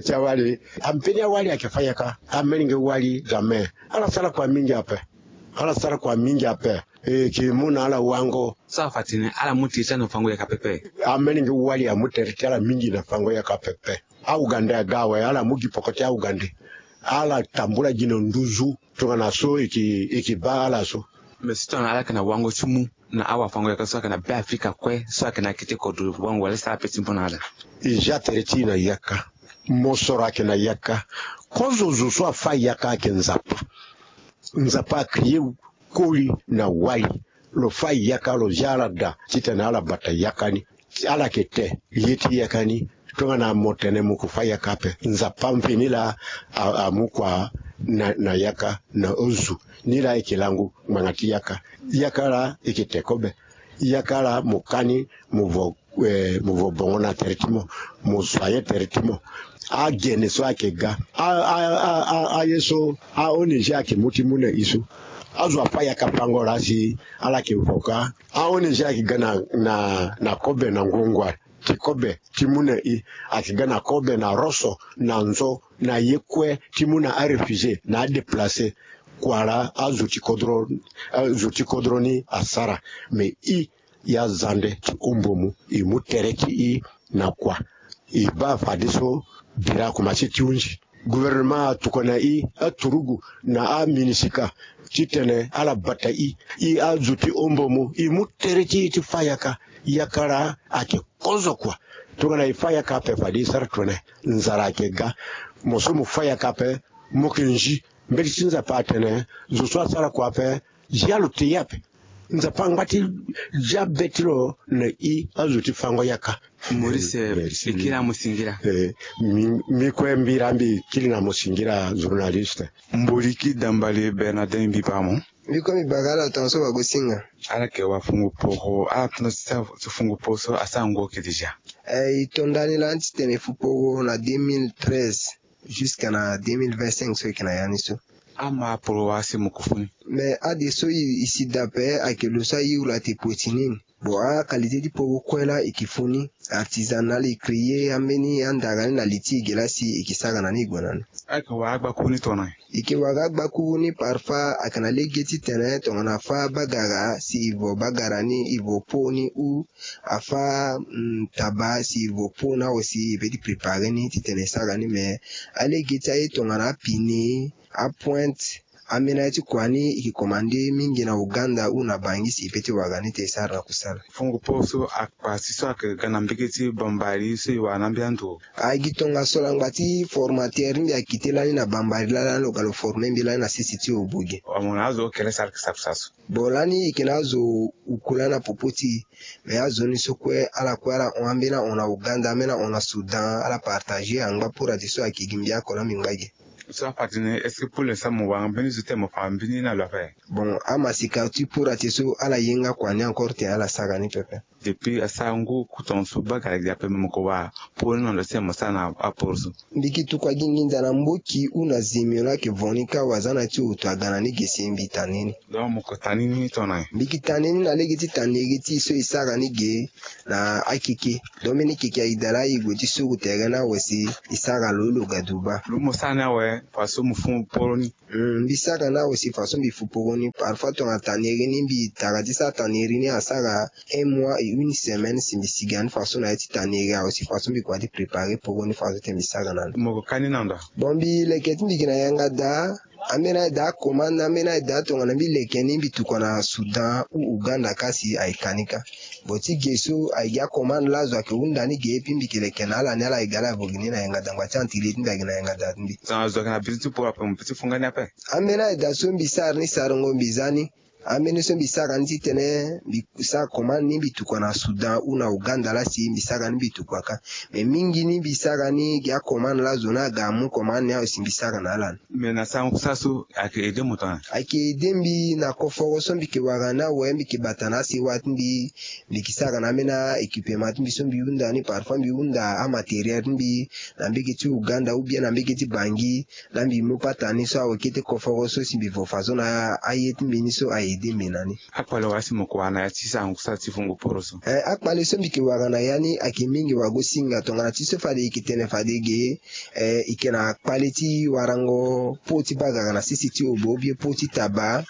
Ti awali, ambeni awali ayeke fa yaka, amelenge wali ga me. Ala sara kua mingi ape. Ala sara kua mingi ape. E yeke mu na ala wango. So afa tene ala mu tere ti ala na fango yaka pepe? Amelenge wali amu tere ti ala mingi na fango yaka pepe. Augande aga awe, ala mu gi poko ti augande. Ala tambula gi na nduzu tongana so e yeke e yeke baa ala so. Me si tongana ala yeke na wango ti mu na awafango yaka so ayeke na Be Afrika kue so ayeke na kete kodro wango wala e sara pe ti mu na ala? E zia tere ti e na yaka. Mosoro ayeke na yaka. Kozo zo so afa yaka ayeke Nzapa. Nzapa acréer koli na wali. Lo fa yaka, lo zia ala daa titene ala bata yaka ni. Ala yeke te ye ti yaka ni. Tongana mo tene mo yeke fa yaka ape, Nzapa mveni laa a, amu kua na, na yaka na ozu. Ni laa e yeke langu ngbanga ti yaka. Yaka laa e yeke te kobe. Yaka laa mo ka ni, mo vo, eh, mo vo bongo na tere ti mo, mo soigner tere ti mo. Agene so ayeke ga, a, a, a, a, aye so a-O N G ayeke mu ti mu na e so. Azo afa yaka fango laa si ala yeke vo ka. A-O N G ayeke ga na, na, na kobe na ngongua ti kobe ti mu na e. Ayeke ga na kobe na roso na nzo na ye kue ti mu na aréfugié na adéplacé. Kua laa azo ti kodro, azo ti kodro ni asara. Me e, e azande ti ombomu, e mu tere ti e na kua. E baa fadeso bira akomanse ti hunzi. Gouvernement atokua na e aturugu na aminisika titene ala bata e. E azo ti ombomu, e mu tere ti e ti fa yaka. Yaka laa ayeke kozo kua. Tongana e fa yaka ape fade e sara tone. Nzara ayeke ga. Mo so mo fa yaka ape, mo yeke nzi. Mbeti ti Nzapa atene zo so asara kua ape, zia lo te ye ape. Nzapa angba ti zia be ti lo na e azo ti fango yaka. Maurice, eh, merci. E kiri na mo singila. Eh, mbi, mbi kue mbi laa mbi kiri na mo singila journaliste. Mboliki dambale Bernardin, mbi baa mo. Mbi kue mbi baa ga ala tongaso wagosinga. Ala yeke wafungu poro, ala tongaso ti wafungu poro so asara ngu oke déjà? Eh, e to ndani lani titene e fu poro na deux mille treize. Jusqu'à na deux mille vingt-cinq so e yeke na ya ni so. Ama poro wala si mo ko fu ni. Mais ade so e, e si daa ape ayeke lo so aye uru ate pue ti ni ni. Bon, akalité ti poro kue laa e ke fu ni. Artisanal e créer ambeni andara ni na li ti e ge laa si e ke sara na ni e gue na ni. Ayeke wara agbakuru ni tongana nyen? E ke wara agbakuru ni parfois ayeke na lege titene tongana afa bagara si e vo bagara ni e vo po ni ou afa, mm, taba si e vo po ni awe si e peut ti préparer ni titene e sara ni. Mais alege ti aye tongana apine, apointe, ambeni aye ti kua ni e ke commande mingi na Ouganda ou na Bangui si e peut ti wara ni te e sara na kusala. Fungo poro so akpa si so ayeke ga na mbege ti Bambari so e wara na ambeni ando? Agi tongaso laa ngba ti formateur ti mbi akite lani na Bambari laa lani lo ga lo former mbi lani na sese ti Obogi. Mo na azo okele sara yeke sara kusala so? Bon, lani e yeke na azo uku lani na popo ti e. Mais azo ni so kue ala kue ala hon, ambeni ahon na Ouganda, ambeni ahon na Soudan, ala partager angba pura ti so ayeke gi mbi oko laa mbi ngba ge. So afa ti ni, est-ce que pour l'instant mo wara mbeni zo ti tene mo fa mbeni na lo ape? Bon, amasika ti pura ti so ala ye nga kua ni encore te ala sara ni pepe. Depuis asara ngu ku tongaso bagara gi ape, me mo ko wara poro ni na lo ti tene mo sara na aporo so? Mbi ke tukua gi nginza na mboki ou na zemio laa ayeke vo ni kâ, wazana ti hoto aga na ni ge si mbi tene ni. Donc mo ko tene ni tongana nyen? Mbi ke tene ni na lege ti tene iri ti e so e sara ni ge na akeke. Donc mbeni keke aye daa laa e gue ti suru tere ni awe si e sara lo, lo ga duba. Lo mo sara ni awe faso mo fu poro ni. Hmm, mbi sara ni awe si faso mbi fu poro ni. Parfois tongana tene iri ni mbi tara ti sara tene iri ni asara un mois. une semaine si mbi siga ni façon na ya ti tanere awe si façon mbi kua ti préparer poko ni façon ti mbi sara na ni. Mo ko kani na ndo? Bon, mbi leke ti mbi gi na yanga daa. Ambeni aye daa akomande, ambeni aye daa tongana mbi leke ni mbi tukua na Soudan ou Ouganda kasi aye kani ka. Bon, ti ge so aye gi akomande lazo ake hunda ni ge, epi mbi ke leke na ala ni, ala ye ga ala vo gi ni na yanga daa ngba ti antiri ti mbi agi na yanga daa ti mbi. Tongana zo ake na biri ti poro ape mo pe ti funga ni ape. Ambeni aye daa so mbi sara ni sarango mbi za ni. Ambeni so mbi sara ni titene mbi sara commande ni mbi tukua na Soudan ou na Ouganda laa si mbi sara ni mbi tukua ka. Me mingi ni mbi sara ni gi acommande lazo ni aga amu commande ni awe si mbi sara na ala ni. Me na sango kusala so ayeke aidé mo tongana? Ayeke aidé mbi na koforo so mbi ke wara ni awe, mbi ke bata na asewa ti mbi. Mbi ke sara na ambeni a-équipement ti mbi so mbi hunda ni, parfois mbi hunda amatériel ti mbi na mbege ti Ouganda ou bien na mbege ti Bangui. Laa mbi mu patara ni so awe kete koforo so si mbi vo façon na aye ti mbi ni so a-aidé mbi na ni. Akpale wala si mo ko wara na ya ti sango kusala ti fungo poro so? Eh, akpale so mbi ke wara na ya ni ayeke mingi wagosinga tongana ti so fade e ke tene fade ge. Eh, e ke na kpale ti warango po ti bagara na sese ti obo ou bien po ti taba.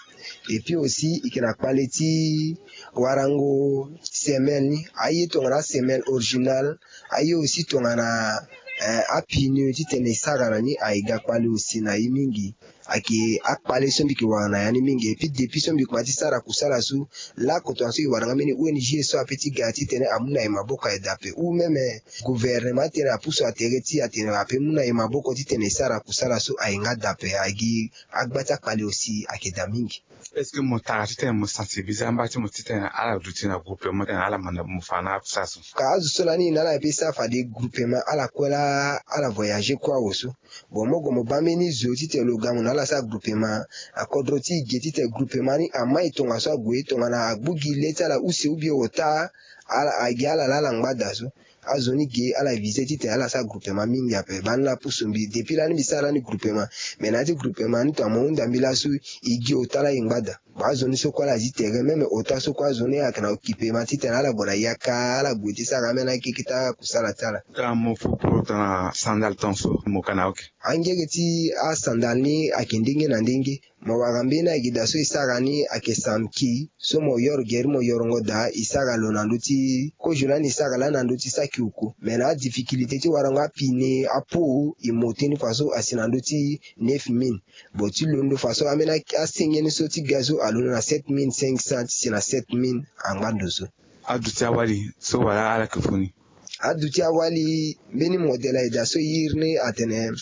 Et puis aussi e ke na kpale ti warango semelle ni, aye tongana asemelle originale, aye aussi tongana eh, apneu titene e sara na ni aye ga kpale aussi na ye mingi. Ayeke akpale so mbi ke wara na ya ni mingi. Et puis depuis so mbi kuma ti sara kusala so, laoko tongaso e wara nga mbeni O N G so ape ti ga titene amu na e maboko aye dape ou même gouvernement titene apusu atere ti atene ape mu na e maboko titene e sara kusala so aye nga dape. Aye gi agba ti akpale aussi ayeke daa mingi. Est-ce que mo tara titene mo sensibiliser amba ti mo titene ala duti na groupement titene ala manda mo fa na akusala so? Ka azo so lani e na ala ape e sara fade groupement ala kue laa ala voyager kue awe so. Bon, mo gue mo baa mbeni zo titene lo ga mo na ala sara groupement. Akodro ti e ge titene groupement ni amai tongaso ague tongana agbu gi le ti ala use ou bien ota, ala agi ala laa ala ngba daa so. Azo ni ge ala visé titene ala sara groupement mingi ape. Baa ni laa apusu mbi depuis lani mbi sara lani groupement. Me na ya ti groupement ni tongana mo hunda mbi laso e gi ota laa e ngba daa. Bon, azo ni so kue ala zi tere même ota so kue azo ni ayeke na occupement titene ala gue na yaka ala gue ti sara ambeni akeke ti akusala ti ala. Tongana mo fu poro tongana sandal tongaso mo ka na oke? Angege ti asandal ni ayeke ndenge na ndenge. Mo wara mbeni ayeke daa so e sara ni ayeke samki so mo yoro gere mo yorongo daa e sara lo na ndö ti kozo lani e sara lani na ndö ti saki oko. Me na adifficulté ti warango apine apo e mote ni faso asi na ndö ti neuf mille. Bon, ti londo faso ambeni asenge ni so ti ga so alondo na sept mille cinq cents ti si na sept mille angba ndo so. Aduti awali so wala ala yeke fu ni? Aduti awali mbeni modèle ayeke daa so e iri ni atene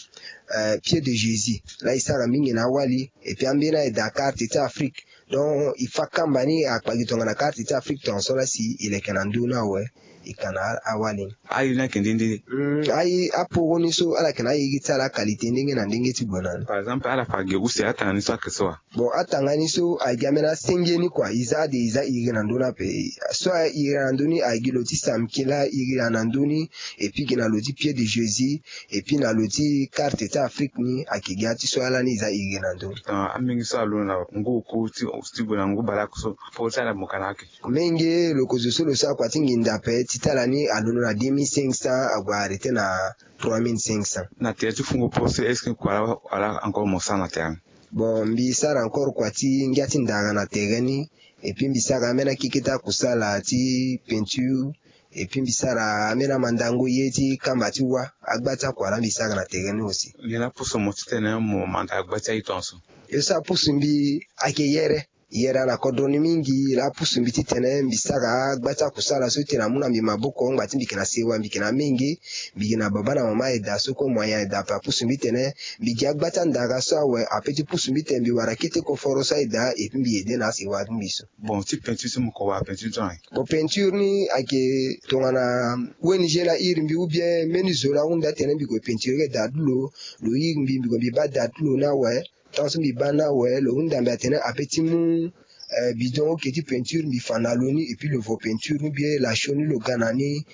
eh, pied de Jésus laa e sara mingi na awali. Et puis ambeni ayeke daa carte ti Afrique. Donc e fa kamba ni akpagi tongana carte ti Afrique tongaso laa si e leke na ndö ni awe. E ka na awali ni. Aye ni ayeke nde nde? Mm, aye aporo ni so ala yeke na aye gi ti ala aqualité ndenge na ndenge ti gue na ni. Par exemple ala fa ge use atanga ni so ayeke so wa? Bon, atanga ni so ayeke gi ambeni asenge ni kua e za ade e za iri na ndö ni ape. So a iri na ndö ni ayeke gi lo ti samki laa iri na ndö ni. Et puis gi na lo ti pied de Jésus. Et puis na lo ti carte ti Afrique ni ayeke gi ati so ala ni e za iri na ndö ni. Ah, amenge so alondo na ngu oku ti ti gue na ngu baleoko so poro ti ala mo ka na oke? Menge lo ko zo so lo sara kua ti nginda ape ti tala ni alondo na deux mille cinq cents ague arrêté na trois mille cinq cents. Na tere ti fungo poro so est-ce que kua la wala encore mo sara na tere ni? Bon, mbi sara encore kua ti ngia ti ndara na tere ni. Et puis mbi sara ambeni akeke ti akusala ti peinture. Et puis mbi sara ambeni amandango ye ti kamba ti wa. Agba ti akua la mbi sara na tere ni aussi. Nyen la pusu mo titene mo manda agba ti aye tongaso? Ye so apusu mbi ayeke yere. Yere ala kodro ni mingi laa apusu mbi titene mbi sara agba ti akusala so titene amu na mbi maboko ngba ti mbi yeke na sewa mbi yeke na menge. Mbi yeke na baba na mama ayeda so kue moyen ayeda ape apusu mbi titene mbi gi agba ti andara so awe ape ti pusu mbi titene mbi wara kete koforo so ayeda et puis mbi ede na asewa ti mbi so. Bon, ti peinture so mo ko wara peinture ti tongana nyen? Bon, peinture ni ayeke tongana O N G la iri mbi ou bien mbeni zo la hunda titene mbi ko peinture da ti lo. Lo iri mbi mbi ko mbi baa da ti lo ni awe. Tant so mbi baa ni awe lo hunda mbi atene ape ti mu eh, bidon oke ti peinture mbi fa na lo ni et puis lo vo peinture ni bien lasio ni lo ga na ni.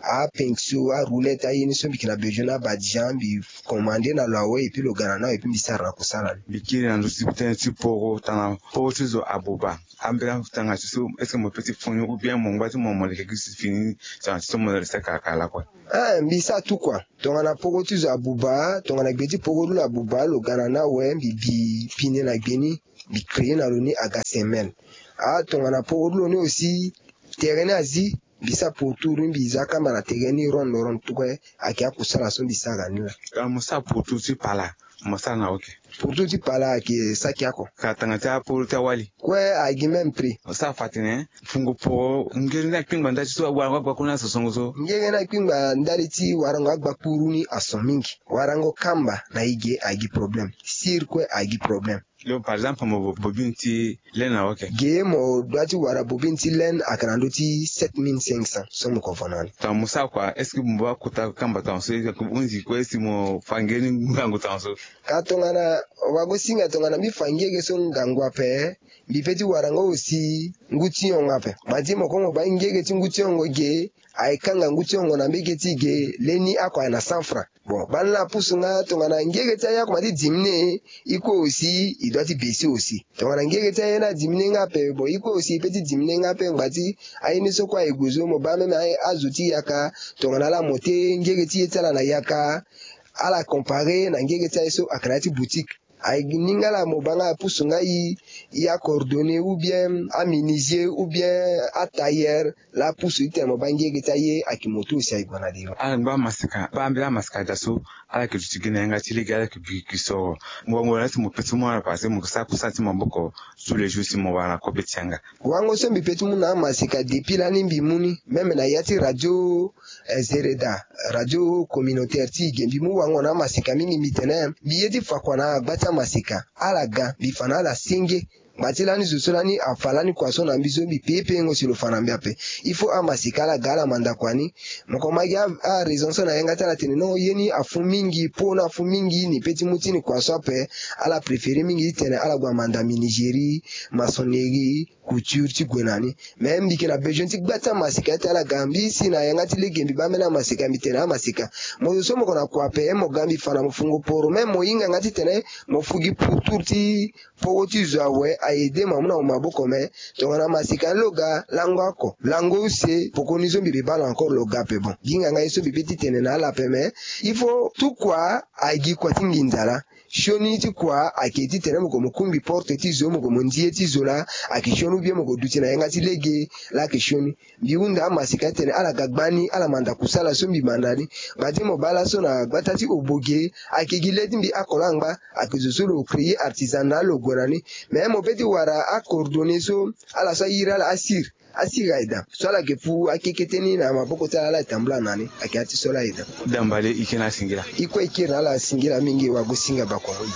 Apinso aroulette aye ni so mbi yeke na besoin ni abadian mbi commandé na lo awe et puis lo ga na ni awe et puis mbi sara na kusala ni. Mbi kiri na ndö ti tënë ti poro tongana poro ti zo abuba. Ambeni atanga ti so est-ce que mo peut ti fu ni ou bien mo ngba ti mo mo leke gi si fini tongana ti so mo leke sara kara kara lakue? Eh, mbi sara tout kua. Tongana poro ti zo abuba tongana gbe ti poro ti lo abuba lo ga na ni awe mbi bi pine na gbe ni. Mbi créé na lo ni aga semelle. Ah, tongana poro ti lo ni aussi tere ni azi. Mbi sara pourtour ni, mbi za kamba na tere ni ronde ronde kue. Ayeke akusala so mbi sara ni laa. Mo sara pourtour ti pala, mo sara na oke. Pourtour ti pala ayeke saki oko. Ka tanga ti aporo ti awali kue, ayeke gi même prix. Mo sara fa tene fungo poro ngere ni akpingba ndali ti so warango agbakuru ni ason songo so. Ngere ni akpingba ndali ti warango agbakuru ni ason mingi. Warango kamba na e ge ayeke gi problème. Sir kue ayeke gi problème. Yo, par exemple, mo bobine ti laine na oke. Ge mo dua ti wara bobine ti laine ayeke na ndö ti sept mille cinq cents so mo ko vo na ni. Tongana mo sara kua, est-ce que mo baa kota kamba tongana so? Hunzi kue si mo fa ngere ni ngangu tongana so. Ka tongana wagosinga tongana mbi fa ngere so ngangu ape, mbi pe ti wara ngo aussi ngu ti yongo ape. Bati mo ko mo baa ngere ti ngu ti yongo ge, ayeke kanga ngu ti yongo na mbege ti ge leni oko ayeke na cent francs. Bon, baa ni la apusu nga tongana ngere ti aye oko ma ti diminuer, e kue aussi e dua ti baisser aussi. Tongana ngere ti aye ni adiminuer nga ape, bon, e kue aussi e pe ti diminuer nga ape ngba ti aye ni so kue aye gue zo. Mo baa même aye azo ti yaka, tongana ala mo te ngere ti ye ti ala na yaka, ala comparer na ngere ti aye so ayeke na ya ti boutique. Aye ni nga la mo baa nga apusu nga e, e acoordonné ou bien amenuisier ou bien atailleur, la apusu ti tene mo baa ngere ti aye ayeke mo tu aussi aye gue na diri. Ala ngba amasika, baa mbela amasika daa so ala yeke duti gi na yanga ti lege, ala yeke biri gi so. Mo wango na ya ti mo pe ti mu ala parce que mo yeke sara kusala ti maboko tous les jours si mo wara na kobe ti yanga. Wango so mbi pe ti mu na amasika depuis lani mbi mu ni, même na ya ti radio, eh, Zereda, radio communautaire ti e ge, mbi mu wango na amasika mingi. Mbi tene mbi ye ti fa kua na agba ti amasika. Ala ga, mbi fa na ala senge. Ngba ti lani zo so lani afa lani kua so na mbi so mbi pe pengo si lo fa na mbi ape. Il faut amasika ala ga ala manda kua ni. Mo ko ma gi a, araison so na yanga ti ala tene non, ye ni afu mingi, po ni afu mingi, ni pe ti mu ti ni kua so ape. Ala préféré mingi ti tene ala gue amanda menuiserie, maçonnerie, couture ti gue na ni. Mais mbi yeke na besoin ti gba ti amasika ti ala ga mbi si na yanga ti lege mbi baa mbeni amasika, mbi tene amasika, mo zo so mo ko na kua ape, mo ga mbi fa na mo fungo poro, même mo hinga nga ti tene mo fu gi pourtour ti poro ti zo awe, a aider mo amu na mo maboko. Mais tongana amasika ni lo ga lango oko, lango use, poko ni so mbi baa lo encore lo ga ape. Bon, gi hinga nga ye so mbi be ti tene na ala ape, mais il faut tout kua agi kua ti nginza laa. Sioni ti kua ayeke ti tene mo ko mo kungbi porte ti zo, mo ko mo ndi ye ti zo laa, ayeke sioni ou bien mo ko duti na yanga ti lege laa ayeke sioni. Mbi hunda amasika ti tene ala ga gbani, ala manda kusala so mbi manda ni. Bati mo baa laso na gbata ti Oboge, ayeke gi le ti mbi oko laa angba, ayeke zo so lo créer artisanat lo gue na ni. Mais mo pe ti wara acoordonné so ala so ayiri ala asir. Asigi aye daa so ala yeke fu akekete ni na maboko ti ala, ala yeke tambula na ni. Ayeke ya ti so ala aye daa. Dambale, e kiri na asingila. E kue e kiri na ala asingila mingi, wagosinga bakongo.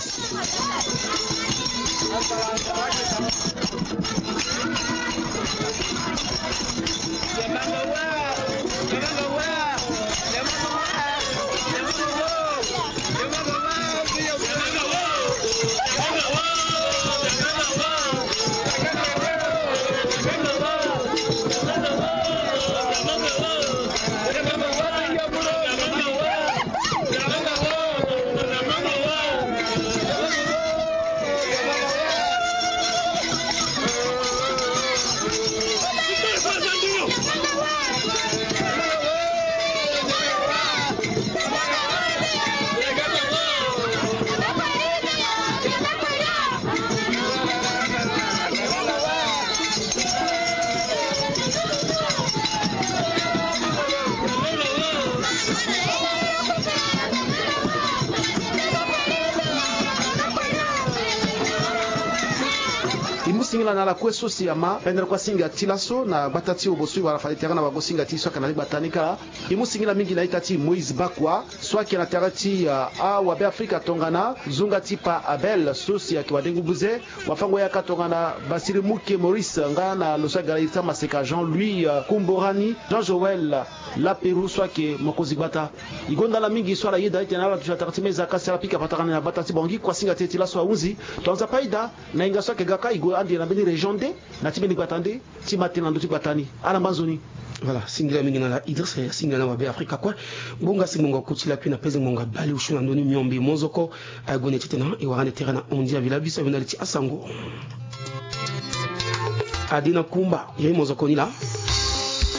E mu singila na ala kue so si ama pendere kue asinga ti laso na gbata ti Oboso, e wara fade tere na wagosinga ti e so ayeke na ligbata ni kâ. E mu singila mingi na ita ti Moïse Bakua so ayeke na tere ti, ah, awabe Afrika tongana zonga ti Pa Abel so si ayeke wadengu buze. Wafango yaka tongana Basiri Muke Maurice nga na lo so aga na iri ti amaseka Jean Louis, euh, Kumborani, Jean Joël Laperoux so ayeke mokonzi gbata. E gonda ala mingi so ala yeda ti tene ala duti na tere ti meza ka si ala pika patara ni na gbata ti Bangui. Kuasinga ti e ti laso ahunzi. Tongana Nzapa ayeda, na hinga so ayeke ga ka, e gue ande na mbeni région nde na ti mbeni gbata nde ti ma tene na ndö ti gbata ni. Ala ngba nzoni. Voilà, singila mingi na ala Idrissa, singila na wabe Afrika kue. Ngbonga si ngbonga koti lakui na peze ngbonga bale osio na ndö ni miombe mozoko. Aye gue na ti tena e wara ande tere na ondi avila biso avenda ti asango. Ade na kumba ye mozoko ni laa.